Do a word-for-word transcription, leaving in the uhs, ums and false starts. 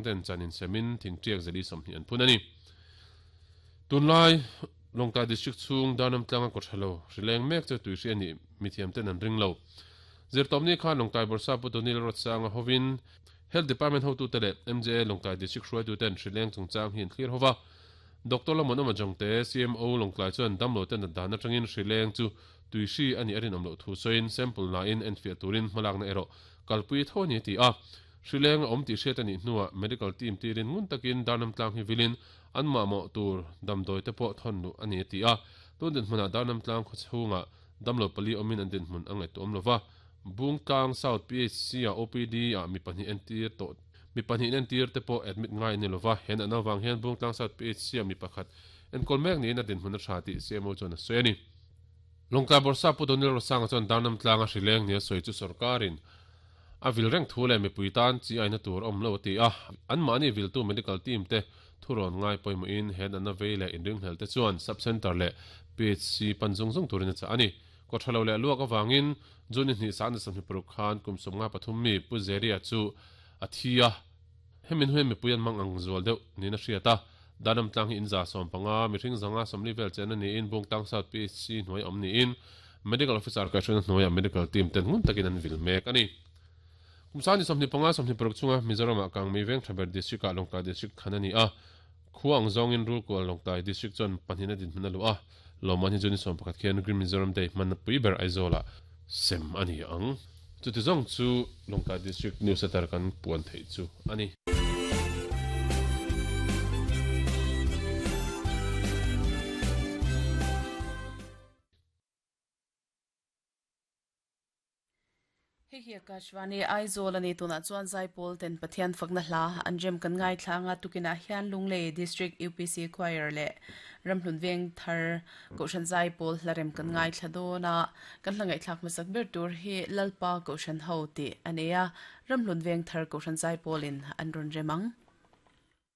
ten chanin semin thingtiak zali somni an phun ani. Tunlai Longtai district chung Darnam tlanga ko thalo rileng mek che tuihri ani mithiam ten an ring lo. Zirtomni khan Longtai Borsa Putonil rot sanga hovin Health Department ho tu tele M J A Longtai district hruai tu ten rileng chungchang hin clear hova. Doctor Lamonoma Jongte C M O Longtlai chuan damlo ten dan atangin rileng chu tuihri ani arin omlo thu soin sample na in en fiah turin hmalak na ero kalpui tho ni ti a. Rileng om ti hriat ani hnuah medical team tirin ngun takin Darnam tlang hi vilin an ma mo tur damdoi te pawh thon lu ani ti a. Tun din hmuna Darnam tlang khaw chhunga damlo pali omin an din hmun angai tu om lova. Bungtlang South P H C a O P D a mi pahnih en tir to mi pahnih en tir te pawh admit ngai ni lova. Hen an awang hian Bungtlang South P H C a mi pakhat en kol mek ni na din hmun a tha ti C M O chuan a sawi ani. Longtlai Borsa Putonil Rosanga chuan Darnam tlanga rileng ni a sawi chu sarkarin a vil reng thu le mi puitan chi aina tur om lo ti a. An mani vil tu medical team te thuron ngai poimo in hen an a veile in ring hel te chuan sub center le P H C panjung zung turin cha ani. Ko thalo le luak awangin juni ni san sam hi khan kum som nga pathum mi puzeria chu athia. Hemin hui mi puyan mang ang zual deuh ni na hriata. Danam tlang hi in za som panga mi hring zanga somli vel chen ani in Bungtlang South P H C hnuai om ni in medical officer ka hriat hnuai medical team ten ngun takin an vil mek ani. Kumsani somni panga somni paruk chunga Mizoram ah kang mi veng thaber district ah Longtlai district khan ani a. Khuang zong in rul kual Longtlai district chuan pahnihna din hmun a lu a. Loman hi juni som pakhat khian Green Mizoram Day hman pui ber Aizawl ah sem ani ang. Chuti zawng chu Longtlai district news center kan puan thei chu ani. Hei Akashvani Aizawl ani tuna chuan Zaipol ten Pathian fakna hla anjem kan ngai thlanga tukina hian Lunglei District U P C Choir le Ramhlun Veng Thar Koshan Zaipol hlarem kan ngai thladona kan hlangai thlak masak ber tur hi Lalpa Koshan ho ti ania Ramhlun Veng Thar Koshan Zaipolin an ron remang.